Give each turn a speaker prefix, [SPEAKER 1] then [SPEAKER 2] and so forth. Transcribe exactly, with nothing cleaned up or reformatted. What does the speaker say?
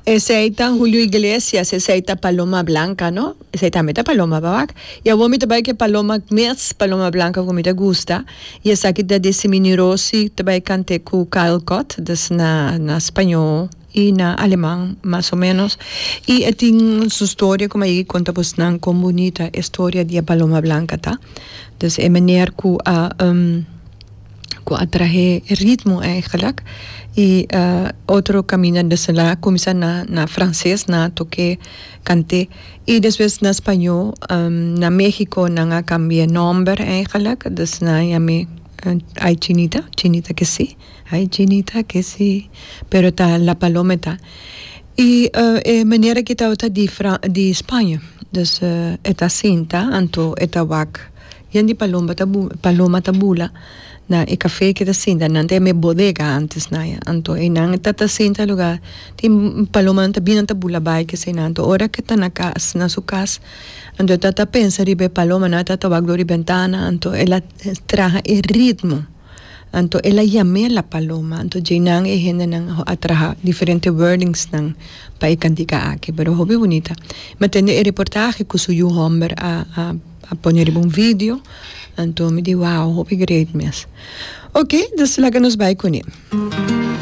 [SPEAKER 1] Esei ta Julio Iglesias, esei ta Paloma Blanca, no? Esei tambe ta Paloma babak. I awor mi ta bai ku e Paloma mes, Paloma Blanca ku mi ta gusta. I esaki ta di Simini Rossi, ta bai kant'é ku Kyle Cott, dus na na spañó i na aleman mas o menos. I e tin su storia ku mi a yega konta bosnan kon bunita e storia di e Paloma Blanca ta. Dus e meneer ku a ku a trahe e ritmo eigenlijk i otro kaminda dus el a kuminsá na na franses nan a tok'é kant'é i despues na spañó. Na Mexico nan a kambia e nòmber eigenlijk, dus nan a yam'é Ay Chinita, Chinita que sí, Ay Chinita que sí, pero ta La Paloma e ta. I e manera ki tabata di di Spaña, dus e ta sinta anto e ta wak yen di palomba ta paloma ta bula na e cafe ki ta sinta. Nan ta yama e bodega antes na ya. Anto einan e ta ta sinta lugar tin palomanan ta bini, nan ta bula bai keseinan. Anto ora ke ta na cas, na su cas, anto e ta ta pensa riba e palomanan, e ta ta wak dor di bentana, anto el a traha e ritmo. Anto el a yam'é La Paloma. Anto djeinan e hendenan a traha diferente wordingsnan pa e kantika aki. Pero hopi bunita. Mi a tende e reportahe ku su yu hòmber a a a pone riba un video. Anto mi di, "Wow, hopi great mes." Oké, dus laga nos bai kuné.